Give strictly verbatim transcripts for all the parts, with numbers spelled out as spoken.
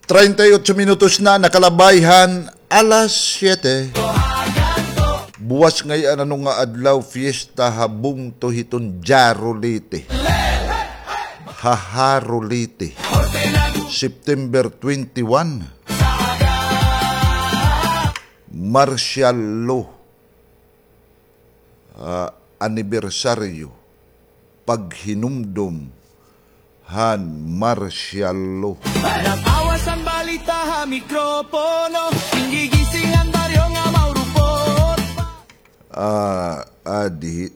Treinta y ocho minutos na nakalabay han alas siyete. Buwas ngay-an ano nga adlaw, fiesta ha bungto hiton Jarolite. Ha Jarolite. September twenty-one. Martial law. Ah, anibersaryo, paghinumdom han martial law. Para pawas an balita ha mikropono, gingigising an baryo nga maurupot pa. Ah, adi.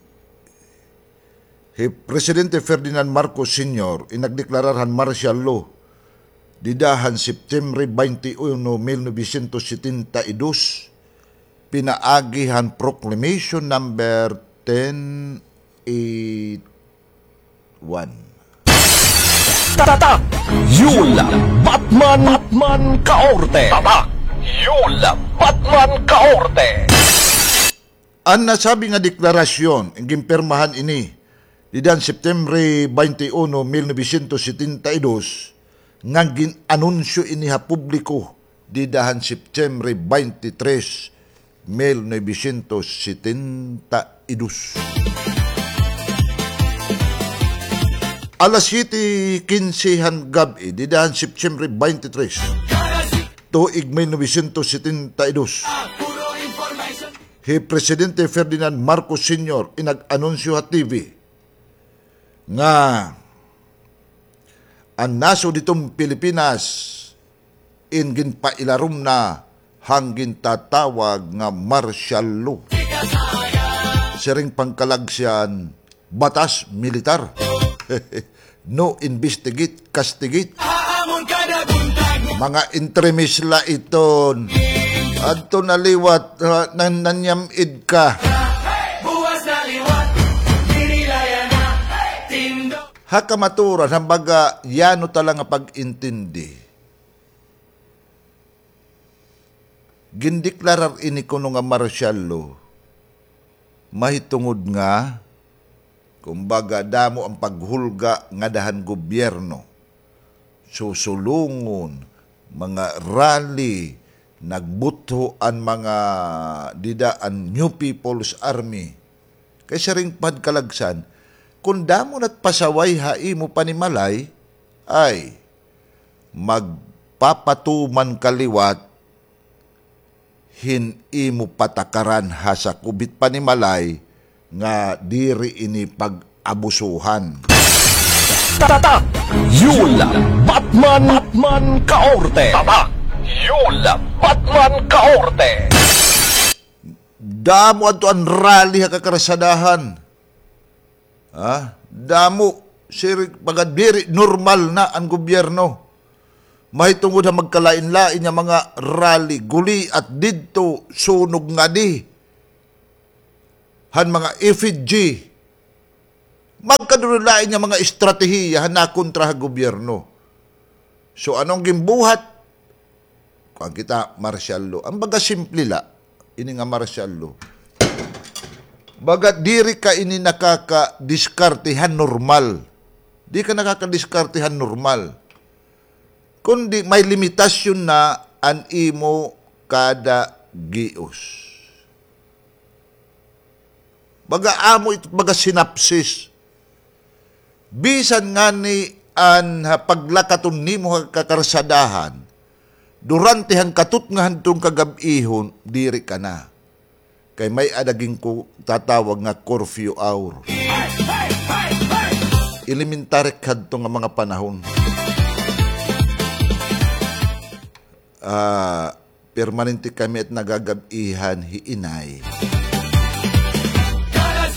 Hi Presidente Ferdinand Marcos Senior in nagdeklarar han martial law dida han September twenty-one, mil novecientos setenta y dos, pinaagi han Proclamation Number ten eight one. Tatak! Yul Batman, Batman Kaorte! Tatak! Yul Batman Kaorte! An nasabi nga deklarasyon, ginpirmahan ini dida han September twenty-one, mil novecientos setenta y dos, ngan gin-anunsyo ini ha publiko dida han September twenty-three, mil novecientos setenta y dos. Alas siyete kinse han gab-i, dida han September twenty-three, tuig mil novecientos setenta y dos. Hi Presidente Ferdinand Marcos Senior in nag-anunsyo ha T V nga an nasod hiton Pilipinas in ginpailarom na han gintatawag nga martial law. Siring pangkalagsan, batas militar. No investigate, castigate. Mga entremis la iton. Adto na liwat, ha, nan-, nanyam-id ka. Ha kamatuoran, han baga yano ta la nga pag-intindi. Gindeklarar ini kuno nga martial law mahitungod nga, kumbaga, damo an paghulga ngada han gobyerno. Susulungon, mga rally, nagbutho an mga dida an New People's Army. Kay siring pa han kalagsan, kon damo na it pasaway ha imo panimalay, ay, magpapatuman ka liwat hin imo patakaran ha sakob hit panimalay nga diri ini pag-abusuhan. Tatak! Yul Batman, Batman Kaorte! Tatak! Yul Batman Kaorte! Damo adto an rally ha kakarsadahan. Ha? Damo, sir, baga diri normal na an gobyerno. Mahitungod ha magkalain-lain nga mga rally, guliat didto, sunog ngadi han mga effigy. Magkadulolain nga mga estratehiya han nakontra ha gobyerno. So, ano an ginbuhat? Kuan kita, martial law. An baga simple la, ini nga martial law. Baga diri ka ini nakakadiskarte han normal. Di ka nakakadiskarte han normal. Kundi may limitasyon na an imo kada gios. Baga amo ito, baga synopsis. Bisan ngani an, ha, paglakaton nimo ha kakarsadahan, durante han katutnga hadton kagab-ihon, diri ka na. Kay may-ada gintatawag nga curfew hour. Elementary hadto nga mga panahon. Ah, permanente kami it nagagab-ihan hi inay.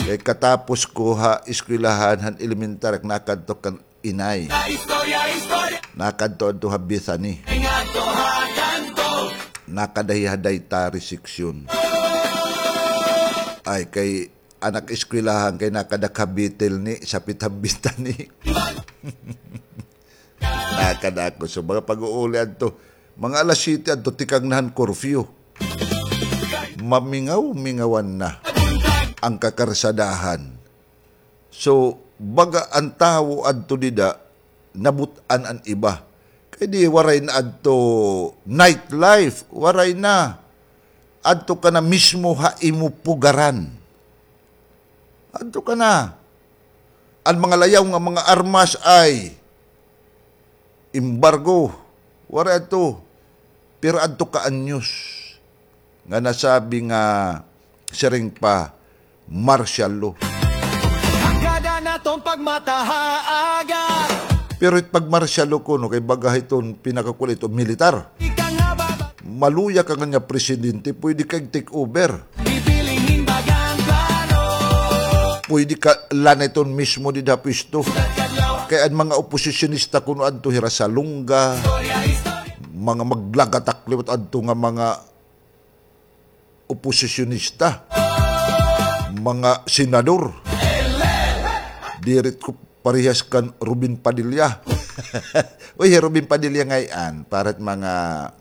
Kay katapos ko ha eskwelahan han elementary, nakadto kan inay. Nakadto adto ha Bethany. Nakadahi ha dietary section. Ay, kay anak eskwelahan kay nakada ha Bethel ni, sapit ha Bethany. Nakada ako. So, mga pag-uuli adto, mga alas siyete adto, tikang na han curfew. Mamingaw-mingawan na an kakarsadahan. So, baga an tawo adto dida, nabut-an an iba. Kay di waray na adto nightlife, waray na. Adto ka na mismo ha imo pugaran. Adto ka na. An mga layaw nga mga armas ay embargo. Waray adto. Pero adto ka anyos nga nasabi nga siring pa martial law. Hanggadan naton pagmata ha aga. Pero it pag-martial law kuno kay baga hiton pinakakulit o militar. Ika nga baba. Maluya ka nga nga presidente, pwede ka take over. Bibiling hin bagang plano. Pwede ka laniton mismo dida ha pwesto. Kay an mga oposisyonista kuno adto hira sa Longga, mga maglagatak liwat adto nga mga oposisyonista, mga senador. Diri ko parehas kan Robin Padilla. Uy, Robin Padilla ngay-an, para it mga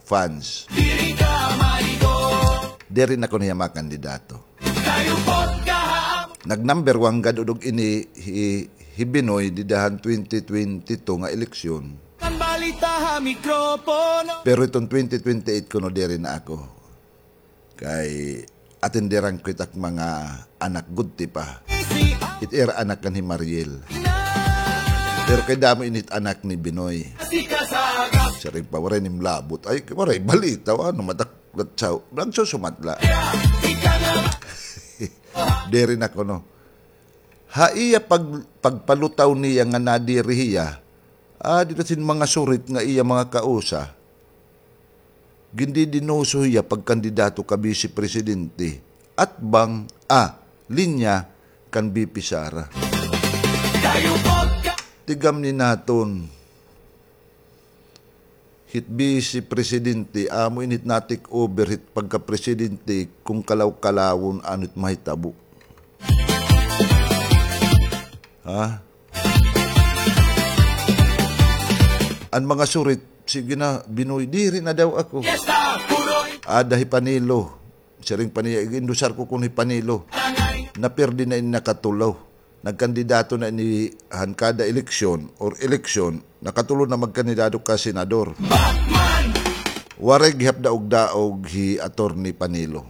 fans. Diri na kuno hiya makandidato. Nag-number one gad udog ini hi, hi Binoy dida han twenty twenty-two nga eleksyon. Pero iton twenty twenty-eight kuno diri na ako. Kay atenderan ko it ak mga anak gudti pa. It ira anak kan hi Mariel. Pero kay damo ini it anak ni Binoy. Siring pa, waray nim labot. Ay, waray balita, ano, mataklat sa, nagsusumatla. Diri na kuno. Ha iya pag-, pagpalutaw niya nga nadiri hiya, ah, dida sin mga surit nga iya mga kausa. Gindidinuso hiya pagkandidato ka bisi presidente, atbang, ah, linya kan V P Sara. Tigamni naton hit bisi presidente, amo ini it na-take over hit pagkapresidente, kon kalaw-kalawon ano it mahitabo. Ha? An mga surit, sige na, Binoy, diri na daw ako. Ada hi Panelo. Siring pa niya, ig-endosar ko kuno hi Panelo. Napirdi na ini nakatulo. Nagkandidato na ini han kada eleksyon or eleksyon, nakatulo na magkandidato ka senador. Waray gihap daog-daog hi Attorney Panelo.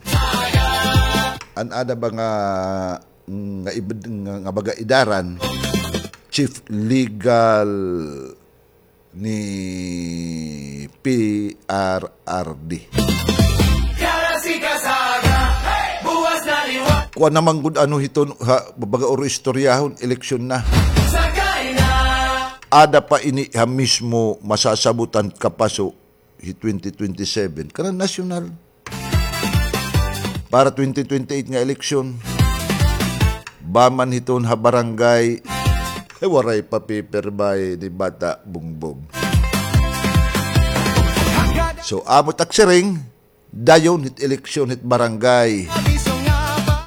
An ada ba nga nga ibd-, nga, nga baga edaran, chief legal ni P R R D. Kuan na man gud ano hiton, ha, baga oro istoryahon, eleksyon na. Ada pa ini ha mismo masasabutan kapaso hi twenty twenty-seven, kanan nasyonal. Para twenty twenty-eight nga eleksyon, ba man hiton ha barangay, waray pa pipirmahi ni Bata Bongbong. So, amo it ak siring, dayon hit eleksyon hit barangay,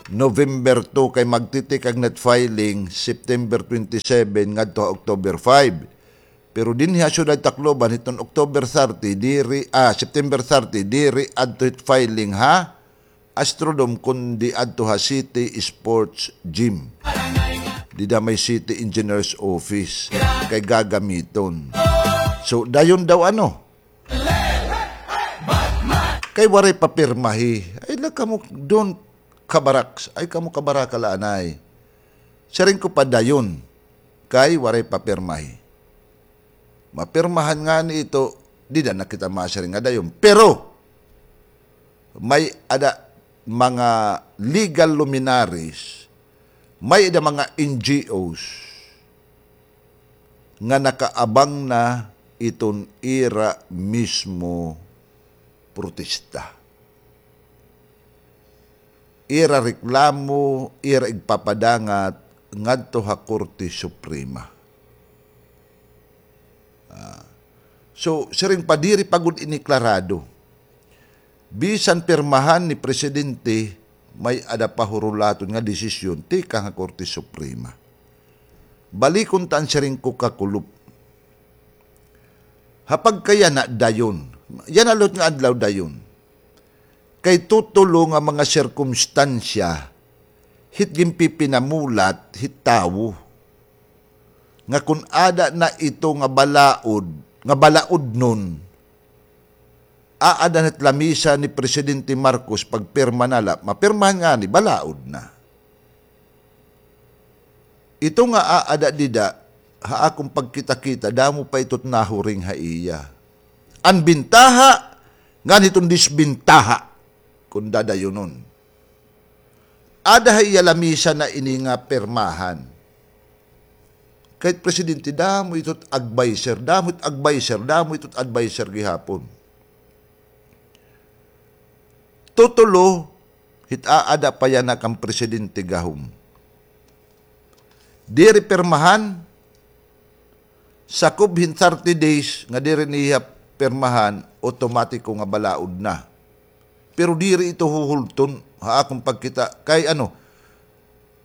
November two, kay magtitikag na it filing, September twenty-seven ngadto ha October five. Pero dinhi ha siyudad Tacloban, hiton October thirty, diri, ah, September thirty, diri adto hit filing ha Astrodome, kundi adto ha City Sports Gym. Dida may City Engineers Office. Kay gagamiton. So, dayon daw ano? Kay waray pa pirmahi. Ay, la kamo, don't kabaraks. Ay, kamo kabaraka la anay. Siring ko pa dayon. Kay waray pa pirmahi. Mapirmahan ngani ito, dida na kita masiring nga dayon. Pero, may-ada mga legal luminaries, may-ada mga N G Os nga nakaabang na iton ira mismo protesta. Ira reklamo, ira igpapadangat ngadto ha Korte Suprema. Ah. So, siring pa, diri pa gud ini klarado. Bisan pirmahan ni Presidente, may-ada pa hurulaton nga desisyon tikang ha Korte Suprema. Balikon ta an siring ko kakulop. Ha pagkayana dayon. Yana liwat nga adlaw dayon. Kay tutulo nga mga sirkumstansya hit ginpipinamulat hit tawo nga kon ada na ito nga balaod nga balaodnon, aada na hit lamisa ni Presidente Marcos pagpirma na la, mapirmahan ngani, balaod na. Ito nga aada dida, ha akon pagkita-kita, damo pa ito't nahuring ha iya. An bintaha, ngan hiton disbintaha, kon dadayunon. Ada ha iya lamisa na ini nga pirmahan. Kay it presidente, damo ito't adviser, damo ito't adviser, damo ito't adviser gihapon. Tutulo, hit aada pa yana kan presidente gahom. Diri pirmahan, sakob hin thirty days nga diri niya pirmahan, automatiko nga balaod na. Pero diri ito huhulton, ha akon pagkita, kay ano,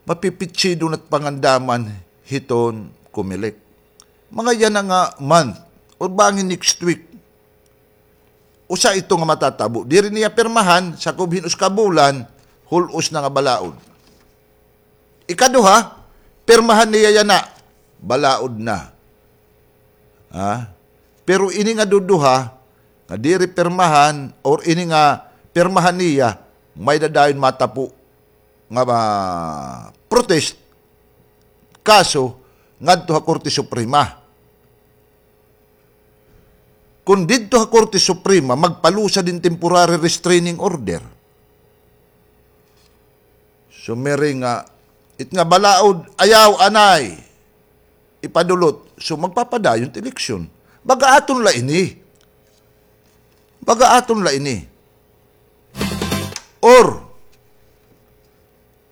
mapipitsidon it pangandaman hiton Comelec. Mga yana nga month, or bangin next week, usa ito nga matatabo. Diri niya pirmahan, sakob hin usa ka bulan, hul-os na nga balaod. Ikaduha, pirmahan niya yana, balaod na. Ha? Pero ini nga duduha, nga diri pirmahan, or ini nga pirmahan niya, may-ada dayon matapo nga, ah, protest, kaso, ngadto ha Korte Suprema. Kon didto ha Korte Suprema, magpalusad hin temporary restraining order. So, miri nga, it nga balaod, ayaw, anay, ipadulot. So, magpapadayon it eleksyon. Baga aton la ini. Baga aton la ini. Or,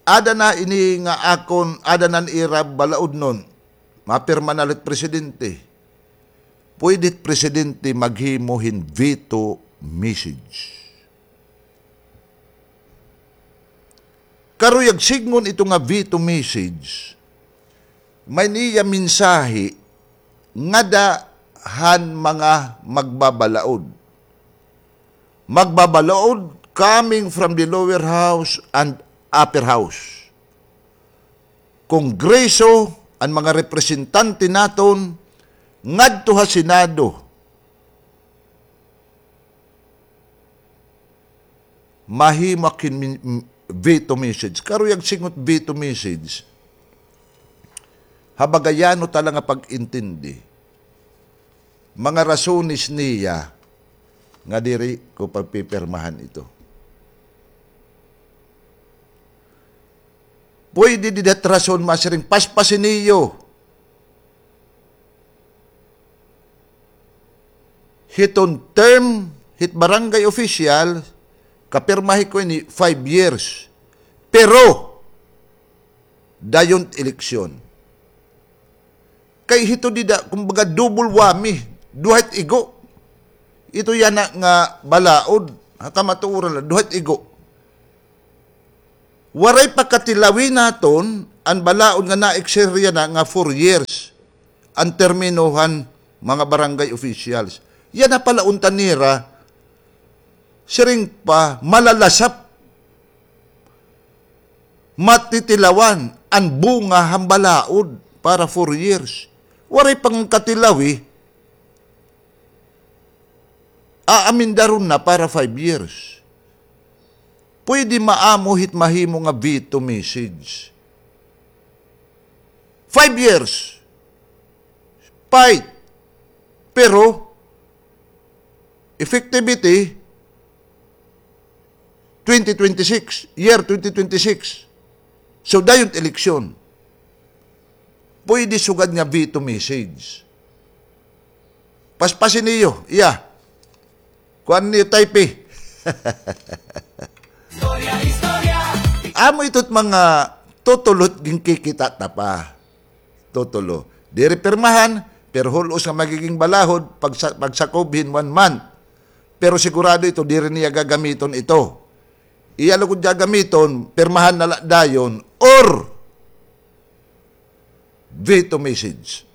ada na ini nga akon, ada na ira balaodnon, mapirma na la it presidente. Pwede it presidente maghimo hin veto message. Karuyag sidngon ito nga veto message, may-ada iya mensahe ngada han mga magbabalaod. Magbabalaod coming from the lower house and upper house. Kongreso, an mga representante naton, ngadto ha Senado. Mahimo ak hin min-, m-, veto message. Karuyag sidngon it veto message. Ha Bagayano ta la nga pag-intindi. Mga rasones niya nga diri ko pagpipirmahan ito. Pwede dida it rason masiring, paspasi niyo. Hiton term hit barangay official, kapirmahi ko ini five years. Pero, dayon it eleksyon. Kay hito dida, kumbaga, double whammy. Duha it igo. Ito yana nga balaod. Ha kamatuoran la, duha it igo. Waray pa katilawi naton an balaod nga na-exer yana nga four years an termino han mga barangay officials. Yana pala unta nira, siring pa, malalasap, matitilawan an bunga han balaod para four years. Waray pa nga katilawi, aamendaron na para five years. Pwede maamo hit mahimo nga veto message. Five years. Fight. Pero, effectivity, twenty twenty-six, year twenty twenty-six. So, dayon eleksyon. Pwede sugad nga veto message. Paspasi niyo, iya. Kuan niyo, type. Amo ito't mga tutulo't ginkikita ta pa. Tutulo. Diri pirmahan, pero hul-os nga magiging balahod pagsa-, pagsakob hin one month. Pero sigurado ito, diri niya gagamiton ito. Iya lugod gagamiton, pirmahan na la dayon, or veto message.